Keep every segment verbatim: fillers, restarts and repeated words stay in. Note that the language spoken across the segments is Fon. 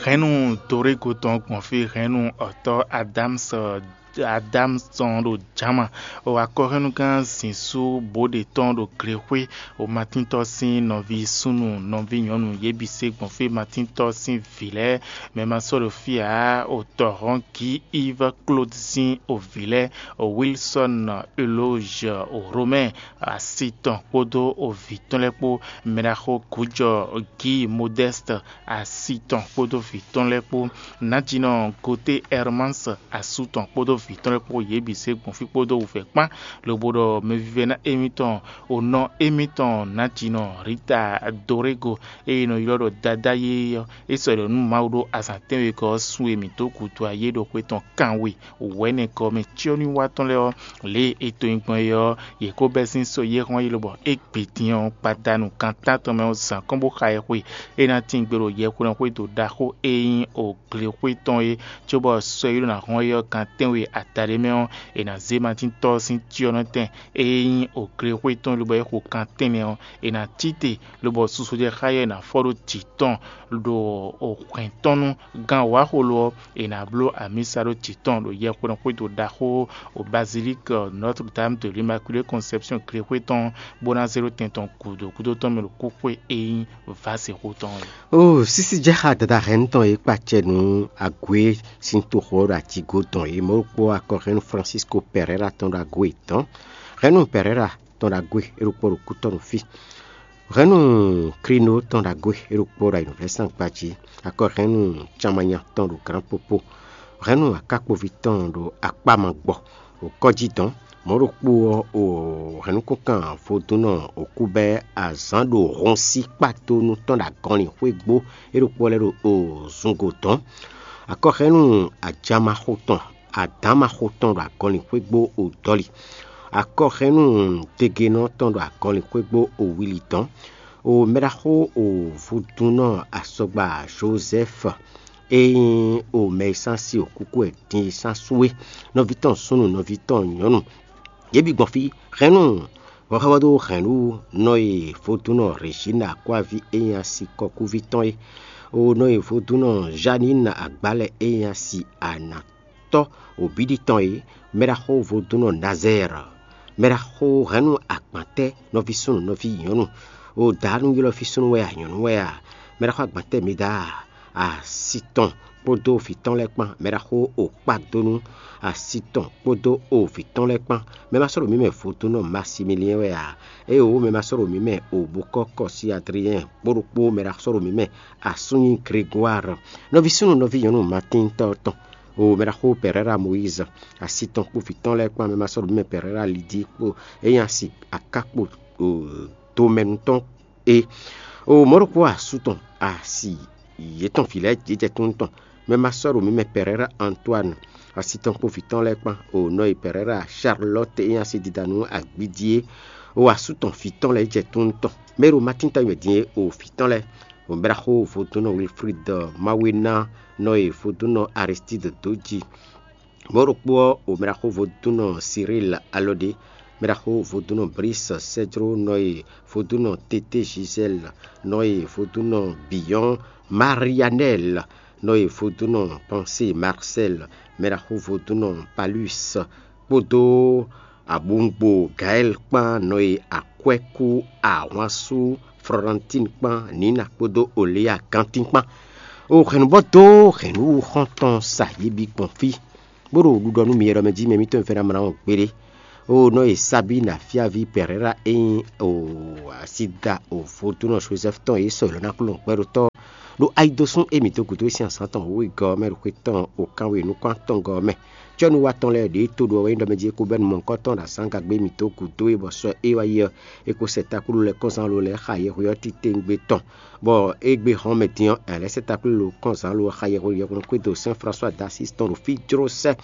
Hɛ̌nnu Dorégo tɔn gbɔn fí, hɛ̌nnu ɔ̌tɔ́ Adámsɔ Adámsɔn ɖo jǎma, o akɔhɛ́nnugán zǐnsu bǒ ɖě tɔn ɖo glexwé, o Matíntɔ́ sín nɔví súnnu nɔví nyɔ̌nu yě bǐ se gbɔn fí, Matíntɔ́ sín vǐ lɛ́ɛ, mɛ ma sɔ́ ɖo fí ǎ, o tɔ̌hɔn Gí Iv Klód sín o vǐ lɛ́ɛ, o Wilsɔ́n Elózh, o Romɛ́ɛ asi tɔn kpódó o vǐ tɔn lɛ́ɛ kpó, mɛɖaxó Gǔjɔ Gí Modɛ́st asi tɔn kpódó vǐ tɔn lɛ́ɛ kpó, Nǎjínɔ Goté Ɛrmáns asú tɔn kpódó vǐ tɔn lɛ́ɛ kpó, yě bǐ se gbɔn fí kpódó wǔvɛ́ kpán, lobo ɖɔ mɛvívɛ́ná émítɔn, o nɔ émítɔn Nǎjínɔ Rita Dorégo, e è nɔ ylɔ́ ɖɔ Dadá yéyé ɔ́, é sɔ́ ɖɔ nú Mawu ɖó azǎn tɛ́nwegɔ́ ɔ́, sun e mǐ dó gǔdo ayé ɖo xwe tɔn kanwe wɛ̌nɛgɔ́ mɛ cyɔ́nywíwá tɔn lɛ́ɛ ɔ́, lě e è to nyi gbɔn é ɔ́, yě ko bɛ́ sín sɔ́ yɛ́hɔ́n yi lobɔ é gbe din ɔ́, gbadanu gan tántɔn mɛ ɔ́, zǎn kɔn bó xa ɛ xwe. É ná tín gbe ɖo yɛhweɖɔxwédo ɖaxó e nyí Oglexwé tɔn é, cóbɔ sɔ́ e ɖó ná hɔn é ɔ́ gan tɛ́nwe adaɖé mɛ ɔ́, è nǎ zé Matíntɔ́ sín cyɔ́nɔtɛn e nyí Oglexwé tɔn é, lobo é xo gan tɛ́nnɛ ɔ́, è nǎ cí te, lobɔ susu jɛ xá yɛ ná fɔ ɖó jǐ tɔn ɖo hwɛ̌n tɔn nú gán wǎxolo ɔ́, è nǎ bló amǐsa ɖó jǐ tɔn ɖo yɛhweɖɔxwédo ɖaxó o Bazilík Notre Dame de l'Immaculée Conception Glexwé tɔn, bó ná zé ɖó tɛn tɔn gǔdo gúdo tɔn mɛ ɖo kúxwé e nyí Vásexó tɔn é. O sísí jɛ xá dada hɛn tɔn e kpacɛ nú ague sín toxo ɔ́ ɖo ajigo tɔn é, mɔ̌ ɖokpó akɔhɛ́nnu Francisco Pereira tɔn ɖo ago yětɔn. Hɛnnu Pereira tɔn ɖo ago e ɖokpó ɖo kútɔ́ ɖo fí. Hɛnnu Krino tɔn ɖo ago e ɖokpó ɖo ayǐnúvlɛ́sán gbají. Akɔhɛnnu Camanya tɔn ɖo Grand Popo. Hɛnnu akákpoví tɔn ɖo akpá ma gbɔ. O kɔ́jí dɔn. Mɔ̌ ɖokpó ɔ́, o hɛ̌nnukúnkan vodúnnɔ òkúbɛ́ azǎn ɖo hɔnsí kpátónú tɔn ɖo agɔnlin xwégbó é ɖokpó lɛ́ɛ ɖo o zungo dɔn. Akɔhɛ́nnu ajamaxo tɔn, adǎnmaxo tɔn ɖo agɔnlin xwégbó o dɔli. Akɔhɛ́nnu degenɔ tɔn ɖo agɔnlin xwégbó o wili dɔn. O mɛɖaxó o vodúnnɔ asɔgba Jozɛ́f e nyí o mɛ e sán si o kúkú wɛ din e sán sú é, nɔví tɔn súnnu, nɔví tɔn nyɔ̌nu, yě bǐ gbɔn fí. Hɛ̌nnu hɔxɛ́vɔ́ dó hɛ̌nnu nɔ e vodúnnɔ Rězína Akwáví e nyí asi kɔkúví tɔn é, o nɔ e vodúnnɔ Zhanína Agbálɛ e nyí asi anatɔ́ wǒbíɖí tɔn é, mɛɖaxó vodúnnɔ Nazɛ́ɛr, mɛɖaxó hɛ̌nnu agbǎntɛ́, nɔví súnnu, nɔví nyɔ̌nu, o dǎnúylɔ́ví súnnu wɛ a, nyɔ̌nu wɛ a, mɛɖaxó agbǎntɛ́ mi dá a, asi tɔn kpódó vǐ tɔn lɛ́ɛ kpán, mɛɖaxó o kpákdónú asi tɔn kpódó o vǐ tɔn lɛ́ɛ kpán. Mɛ ma sɔ́ ɖo mǐ mɛ vodúnnɔ Masimiliɛn wɛ a? Éeǒ, mɛ ma sɔ́ ɖo mǐ mɛ o bokɔ́ kɔ sí Adriɛn kpó ɖokpó mɛ ɖo sɔ́ ɖo mǐ mɛ asú nyí Gregwár. Nɔví súnnu, nɔví nyɔ̌nu Matíntɔ́ tɔn, o mɛ ɖaxó Pɛrɛ́ra Moyíz, asi tɔn kpó vǐ tɔn lɛ́ɛ kpán, mɛ ma sɔ́ ɖo mǐ mɛ Pɛrɛ́ra Lidí kpó, é nyí asi aká kpo tomɛnu tɔn é. O mɔ̌ ɖokpó asú tɔn asi yětɔn vǐ lɛ́ɛ jɛ tunú tɔn, mɛ ma sɔ́ ɖo mǐ mɛ Pɛrɛ́ra Antoine, asi tɔn kpó vǐ tɔn lɛ́ɛ kpán, o nɔ e Pɛrɛ́ra Charlotte e nyí asi dida nú agbídí é, o asú tɔn vǐ tɔn lɛ́ɛ jɛ tunú tɔn, mɛ e ɖo Matín tɔn nyi wɛ din é, o vǐ tɔn lɛ́ɛ, o mɛɖaxó vodúnnɔ Wilfrid Mawena, nɔ e vodúnnɔ Aristide dó ji. Mɔ̌ ɖokpó ɔ́, o mɛɖaxó vodúnnɔ Cyril Alɔɖé, mɛɖaxó vodúnnɔ Brice Cédro, nɔ e vodúnnɔ Tété Gisèle, nɔ e vodúnnɔ Biyɔn Marianel, nɔ e vodúnnɔ Pensée Marcel, mɛɖaxó vodúnnɔ Palus, kpódó abungbo Gaël kpán, nɔ e akwɛ́kú ahwansú Florentine kpán, Nina kpódó Oléa Gantín kpán. O hɛ̌nnubɔ́ dó hɛ̌nnu xɔ́ntɔn sa yě bǐ gbɔn fí, bó ɖo ɖuɖɔ nú mi ɖɔ mɛ jí mɛ mǐtɔn e fɛ́ ná mlá ɔ́ gbeɖé. O nɔ e Sabína fíaví Pɛrɛ́ra e nyí o asída o vodúnnɔ Jozɛ́fu tɔn e sɔ́ yě lɔ ná kplɔ́n gbɛɖotɔ́ ɖo ayidosún e mǐ dó gǔdo e sín azǎn tɔn wěwegɔ́ ɔ́ mɛ ɖo xwe tɔn o kanwe nukún atɔngɔ́ ɔ́ mɛ. Cɔ́nú wa tɔn lɛ́ɛ ɖě e to ɖo ɔ́ wɛ nyí ɖɔ mɛ jí é kó bɛ́ nú mɔ̌hunkɔtɔn ɖo azǎn gagbe mǐ dó gǔdo e bɔ sɔ é wá yi ɔ́, é kó sɛ takplú lɛ́ɛ kɔn zán lo lɛ́ɛ xa yɛhweɔ́ titewungbe tɔn, bɔ égbé hɔn mɛ din ɔ́, ɛ lɛ́ sɛ takplú lo kɔn zán lo xa yɛhweɖɔxwédo Sɛn Flasuwa d'Asísi tɔn ɖo fí jló sɛ́.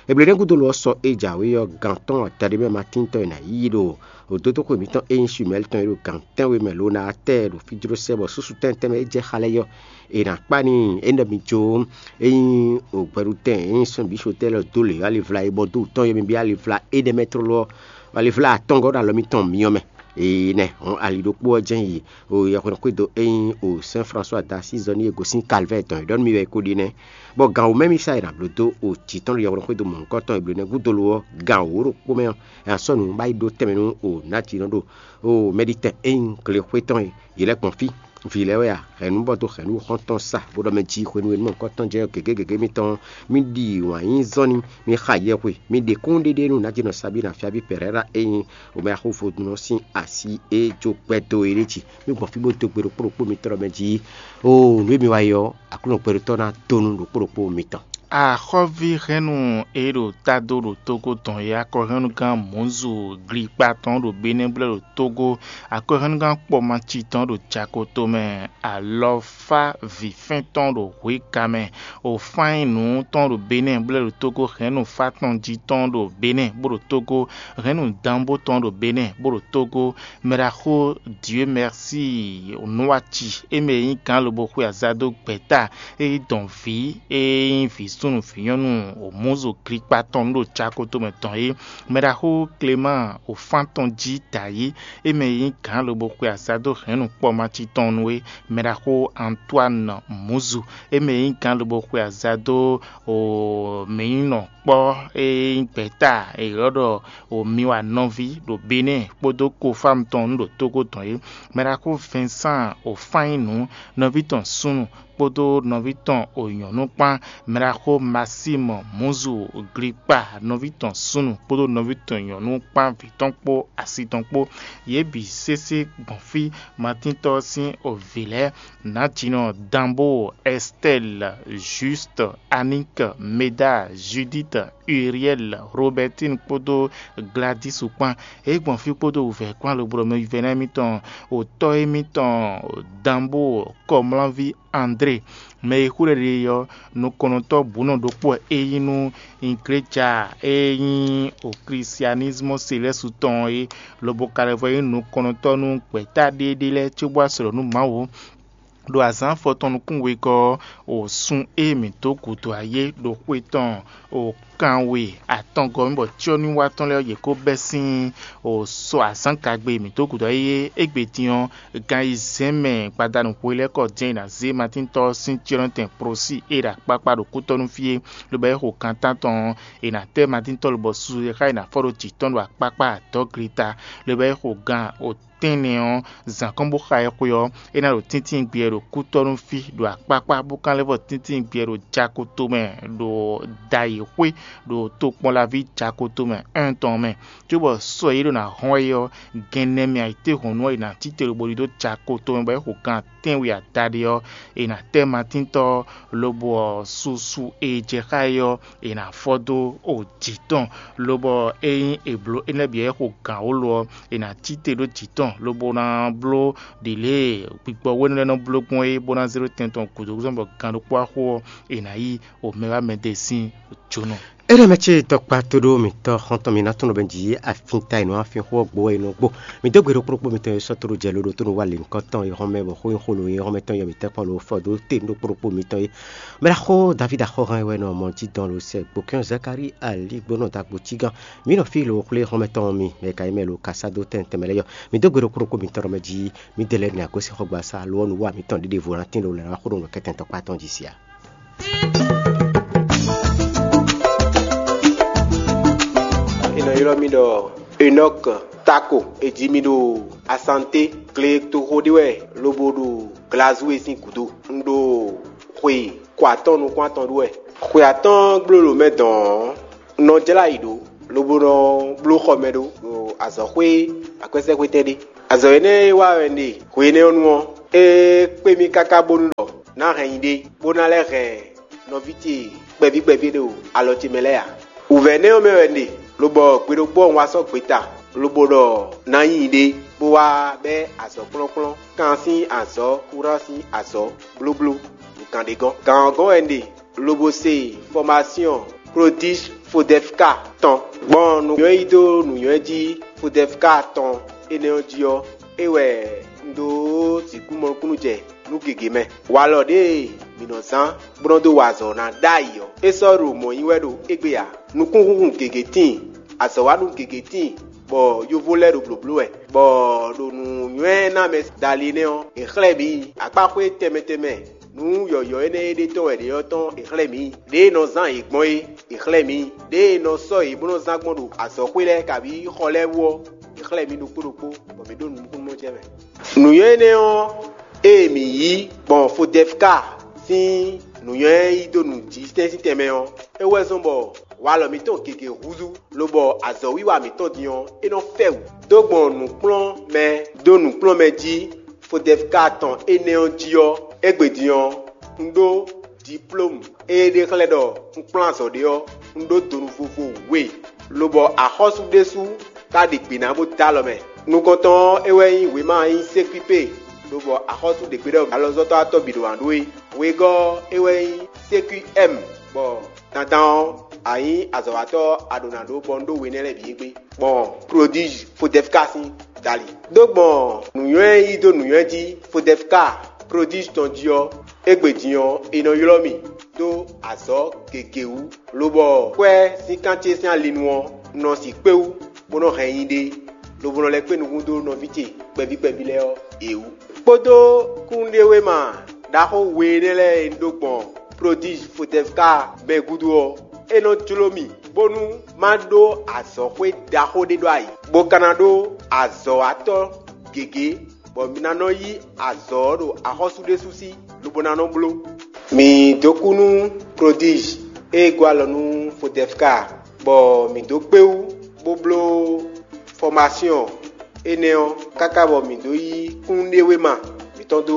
Ebléɖɛ́ gúdo lo ɔ́, sɔ e jǎwe ɔ́, gǎn tɔn adaɖé mɛ Matín tɔn e nǎ yí ɖo òdódóxwe mǐtɔn e nyí Suimɛ́li tɔn é ɖo gǎn tɛ́nwe mɛ lo ná tɛ ɖo fí jló sɛ́, bɔ súsu tɛ́ntɛ́n mɛ é jɛ xá lɛ́ɛ yɔ. È nǎ kpá n'i é nɔ mi jó é nyí ògbɛɖutɛn e nyí sɔ́n bǐ sotɛ́ lɔ dó lě alivla e bɔ dó tɔn e mi byɔ́ alivla énɛ́ mɛ tlóló ɔ́, alivla atɔngɔ́ ɖo alɔ mitɔn myɔ mɛ. Énɛ́ hɔn ali ɖokpó ɔ́ jɛ́n yi o yɛhweɖɔxwédo e nyí o Sɛn Flasuwa da sín zɔ n'i e gosín Kalvɛ́ɛ tɔn é ɖɔ nú mì wɛ é ko ɖi nɛ́. Bɔ gan wǒ mɛ mì sa e nǎ bló dó o jǐ tɔn ɖo yɛhweɖɔxwédo mɔ̌hunkɔtɔn e blǒ nɛ́ gúdo lo ɔ́, gan wǒ ɖokpó mɛ ɔ́, è nǎ sɔ́ nǔ bá yi ɖó tɛnmɛ nú o nǎjínɔ ɖo o Mɛɖitɛn e nyí glexwé tɔn e yě lɛ́ gbɔn fí. Vǐ lɛ́ɛ wɛ a? Hɛ̌nnu bɔ dó hɛ̌nnu xɔ́ntɔn sa, bó ɖɔ mɛ jí hwenu e nú mɔ̌hunkɔtɔn jɛ gěgé gěgé mitɔn, mì ɖi wǎn yí zɔ́n ní, mì xa yɛhwe, mì ɖe kúnnuɖéɖé nú nǎjínɔ Sabína Fyáví Pɛrɛ́ra e nyí Omɛxóvodúnɔ sín así e jó gbɛdó é ɖé jí. Mì gbɔn fí bó dó gbe ɖokpó ɖokpó mitɔn ɖɔ mɛ jí, oo nǔ e mi wa yi ɔ́, Aklúnɔ gbɛɖótɔ́ ná dó nú ɖokpó ɖokpó mitɔn. Axɔ́ví hɛ́nnu e ɖo tádo ɖo Tógó tɔn é, akɔhɛnnugán Mɔ̌zu Glikpa tɔn ɖo Benɛ́ blɛ́ ɖo Tógó, akɔhɛnnugán Kpɔmaci tɔn ɖo Jako tomɛ, alɔfá vǐfɛ́n tɔn ɖo Hweka mɛ, Ofányinu tɔn ɖo Benɛ́ blɛ́ ɖo Tógó, hɛ̌nnu Fátɔnji tɔn ɖo Benɛ́ bó ɖo Tógó, hɛ̌nnu Danbó tɔn ɖo Benɛ́ bó ɖo Tógó, mɛɖaxó Dieu Merci Nuwaci, é mɛ e nyí gǎn lobo xwe azado gbɛ̌ta e yí dɔn vǐ e nyí vǐ súnnu vǐ nyɔ́nu Mɔ̌zu Glikpa tɔn ɖo Jako tomɛ tɔn é, mɛɖaxó Clément Ofán tɔn jí dǎyé, é mɛ e nyí gǎn lobo xwe azado hɛ̌nnu Kpɔmaci tɔn nu é, mɛɖaxó Antoine Mɔ̌zu, é mɛ e nyí gǎn lobo xwe azado mǐnyínɔ kpɔ́ e nyí gbɛ̌ta è ylɔ́ ɖɔ Omiwa nɔví ɖo Benɛ́ kpódó Kofámu tɔn ɖo Tógó tɔn é, mɛɖaxó Vincent Ofányinu nɔví tɔn súnnu kpódó nɔví tɔn o nyɔ̌nu kpán, mɛɖaxó Maxime Mɔ̌zu Glikpa nɔví tɔn súnnu kpódó nɔví tɔn nyɔ̌nu kpán vǐ tɔn kpó asi tɔn kpó. Yě bǐ sésé gbɔn fí. Matíntɔ́ ɔ́ sín o vǐ lɛ́ɛ: Nǎjínɔ Danbo, Ɛstɛ́li, Jústu, Aník, Meda, Judíti, Uriɛ́li, Robɛ́tin kpódó Gladísu kpán. Yě gbɔn fí kpódó wǔvɛ́ kpán lobo ɖɔ mɛ vívɛ́ná émítɔn, otɔ́ émítɔn Danbo, kɔmlánví André, mɛ e xú ɖɛ ɖe ɔ́, nukɔnnɔtɔ́ bǔnɔ ɖokpó wɛ é nyí nú igleja e nyí o klisianismu selɛ́su tɔn ɔ́ é, lobo ka lɛ́ vɔ nyí nukɔnnɔtɔ́ nú gbɛ̌ta ɖéeɖée lɛ́ɛ cóbó wá sɔ̌ nú Mawu ɖo azǎn afɔtɔn nukún wegɔ́ ɔ́, o sun e mǐ dó gǔdo ayé ɖo xwe tɔn o kanwe atɔngɔ́ mɛ bɔ cyɔ́núwa tɔn lɛ́ɛ ɔ́, yě ko bɛ́ sín o sɔ azǎngagbe e mǐ dó gǔdo ayé é. Égbé din ɔ́, gan ayizɛ́n mɛ gbadanu hwelɛ́kɔ din e è nǎ zé Matíntɔ́ ɔ́ sín cyɔ́nɔtɛn Prosí e ɖo akpákpá ɖo kútɔ́ nú fí é, lobo é xo gan tántɔn ɔ́, è nǎ tɛ́ Matíntɔ́ lobɔ susu e xá è nǎ fɔ ɖó jǐ tɔn ɖo akpákpá adɔ̌glita, lobo é xo gan tɛ́nnɛ ɔ́, zǎn kɔn bó xa ɛ xwe ɔ́, é ná ɖo tíntín gbeyɛ ɖo kútɔ́nú fí ɖo akpákpá, bó ka lɛ́ vɔ tíntín gbeyɛ ɖo Jako tomɛ ɖo Dayǐxwé ɖo tokpɔnlaví Jako tomɛ un tɔn mɛ. Cóbɔ sɔ e ɖo ná hɔn wɛ é ɔ́, gɛnnɛ mɛ ayǐtéhɔ̌nnu ɔ́, è nǎ cí te lobo ɖidó Jako tomɛ bɔ é xo gan tɛ́nwe adaɖé ɔ́, è nǎ tɛ́ Matíntɔ́ ɔ́, lobo ɔ́, susu e jɛ xá é ɔ́, è nǎ fɔ dó o jǐ tɔn, lobɔ ényí è blǒ énɛ́ bǐ wɛ xo gǎn wǒ lo ɔ́, è nǎ cí te ɖó jǐ tɔn, lobo ná bló ɖě lě e gbigbɔwénu lɛ́ɛ nɔ bló gbɔn é, bó ná zé ɖó tɛn tɔn gǔdo gúdo bɔ gan ɖokpó wá xo ɔ́, è nǎ yí o mɛ wá mɛ ɖe sín jónɔ. Énɛ́ mɛ ce tɔkpa tóɖó mǐtɔn xɔ́ntɔn mi ná tunɔ bɛn jǐ afín ta e nǔ afín xó ɔ́ gbo wɛ è nɔ gbo. Mi dó gbe ɖokpó ɖokpó mitɔn e sɔ́ tóɖó jɛ lóɖó tónú wá lěhunkɔtɔn e hɔn mɛ bɔ xó nyí xó lo e hɔn mɛtɔn yɔ mǐtɛn kpɔ́n lo fɔ dó te nú ɖokpó ɖokpó mitɔn é. Mɛ ɖaxó Davídi axɔ́hán e wɛ nɔ mɔ jí dɔn lo sɛ gbokɛ́n Zakalíi ali gbónɔ dagbo cígán. Mǐ nɔ fí lo xwlé xɔ́mɛtɔn mi, mɛ ka nyí mɛ lo ka sá dó tɛn tɛnmɛ lɛ́ɛ yɔ. Mǐ dó gbe ɖokpó ɖokpó mitɔn ɖɔ mɛ jí mǐ dɛ lɛ́ɛ nɔ agosín xɔgbasá lo ɔ́ nu wá mǐtɔn ɖěɖěvo ná tín lo lɛ̌ wá xó ɖo nǔ kɛtɛn tɔkpá tɔn jí sia. È nɔ ylɔ́ mì ɖɔ Enɔ́k Tako. È ji mì ɖo Asanté, gletoxo ɖé wɛ lobo ɖo Glazúwe sín gǔdo. Un ɖo xwe kɔ atɔ́ɔ́n nukún atɔn ɖó wɛ. Xwe atɔ́ɔ́n gbló ɖo mɛ dɔn ɔ́, un nɔ jlá ayǐ ɖó, lobo nɔ bló xɔ mɛ ɖó ɖo azɔ̌xwé akwɛ́sɛ́xwétɛn ɖé. Azɔ̌ énɛ́ e wa wɛ un ɖe hwe énɛ́ ɔ́ nu ɔ́, é kpé mì káká bónú ɖɔ ná hɛn nyi ɖé, bó ná lɛ́ hɛn nɔví ce kpɛví kpɛví ɖo alɔ ce mɛ lɛ́ɛ ǎ. Wǔvɛ́ énɛ́ ɔ́ mɛ wɛ un ɖe, lobɔ gbe ɖokpó ɔ́ un wá sɔ́ gbeta, lobo ɖɔ ná nyi ɖé, bó wá bɛ́ azɔ̌ kplɔ́nkplɔ́n, kan sín azɔ̌, kúran sín azɔ̌, blóbló, nǔkan ɖé gɔ́n. Gǎn ɔ́ gɔ́n wɛ un ɖe, lobo se fɔmasyɔn Klodíš Fodɛfka tɔn. Gbɔn nǔnywɛ́ yí dó nǔnywɛ́ jí Fodɛfka tɔn énɛ́ ɔ́ jí ɔ́, é wɛ un dó sixú mɔ nukúnnú jɛ nú gěgé mɛ. Walɔ ɖěe mǐ nɔ zán bó nɔ́ dó wa azɔ̌ ná ɖ'ayǐ ɔ́, é sɔ́ ɖo mɔ̌ nyi wɛ ɖo égbé ǎ. Nukúnhúnhun gěgé tíin, azɔ̌wanú gěgé tíin, bɔ yovó lɛ́ɛ ɖo blǒbló wɛ, bɔ ɖo nǔnywɛ́ ná mɛ dali énɛ́ ɔ́, è xlɛ́ mǐ akpáxwé tɛnmɛ tɛnmɛ nǔ yɔ̌yɔ́ énɛ́ e ɖe tɔn wɛ ɖě ɔ́ tɔn è xlɛ́ mǐ. Ɖěe è nɔ zán yě gbɔn é, è xlɛ́ mǐ. Ɖěe è nɔ sɔ́ yě bó nɔ́ zán gbɔn ɖo azɔ̌xwé lɛ́ɛ kabǐ xɔ lɛ́ɛ wú ɔ́, è xlɛ́ mǐ ɖokpó ɖokpó, bɔ mǐ ɖo nukúnnú jɛ mɛ. Nǔnywɛ́ énɛ́ ɔ́, ée mǐ yí gbɔn Fodɛfka sín nǔnywɛ́ yí dó nǔjísɛ́n sín tɛnmɛ ɔ́, é wɛ zɔ́n bɔ walɔ mǐtɔn gěgé húzú, lobɔ azɔ̌wiwa mǐtɔn din ɔ́, é nɔ fɛ wǔ. Dó gbɔn nǔkplɔ́nmɛ dó nǔkplɔ́nmɛ jí Fodɛfka tɔn énɛ́ ɔ́ jí ɔ́, égbé din ɔ́, un ɖó diplómu e è ɖe xlɛ́ ɖɔ un kplɔ́n azɔ̌ ɖé ɔ́, un ɖó donu vovo we, lobɔ axɔ́sú ɖésú ka ɖi gbǐ ná bó dó alɔ mɛ. Nukɔntɔn ɔ́, é wɛ nyí wěma e nyí sékúipé, lobɔ axɔ́sú ɖě gbe ɖɔ alɔzɔ́tɔ́ atɔ́ bǐ ɖo wǎn ɖó é. Wegɔ́ ɔ́, é wɛ nyí sékúɛ́mu, bɔ dandan ɔ́, a nyǐ azɔ̌watɔ́ a ɖǒ ná ɖó bɔ un ɖó we énɛ́ lɛ́ɛ bǐ égbé, gbɔn Prodízhi Fodɛfka sín dali. Dó gbɔn nǔnywɛ́ e yí dó nǔnywɛ́ jí Fodɛfka Prodízhi tɔn jí ɔ́, égbé din ɔ́, è nɔ ylɔ́ mì dó azɔ̌ gěgé wú, lobɔ kwɛ́ sín kan ce sín alinu ɔ́, un nɔ sixú kpé wú, bó nɔ́ hɛn nyi ɖe, lobo nɔ lɛ́ kpé nukún dó nɔví ce kpɛví kpɛví lɛ́ɛ ɔ́, yě wú. Kpódó kúnnuɖewéma ɖaxó we énɛ́ lɛ́ɛ e un ɖó gbɔn Prodízhi Fodɛfka mɛ gúdo ɔ́, é nɔ jló mì, bónú má ɖó azɔ̌xwé ɖaxó ɖé ɖó ayǐ, bó ka ná ɖó azɔ̌watɔ́ gěgé, bɔ mi ná nɔ yí azɔ̌ ɔ́ ɖo axɔ́sú ɖésú sí, lobo ná nɔ bló. Mǐ dó kú nú Prodízhi e gɔ́ alɔ nú Fodɛfka, bɔ mǐ dó kpé wú, bó bló fɔmasyɔn énɛ́ ɔ́, káká bɔ mǐ dó yí kúnnuɖewéma mǐtɔn dó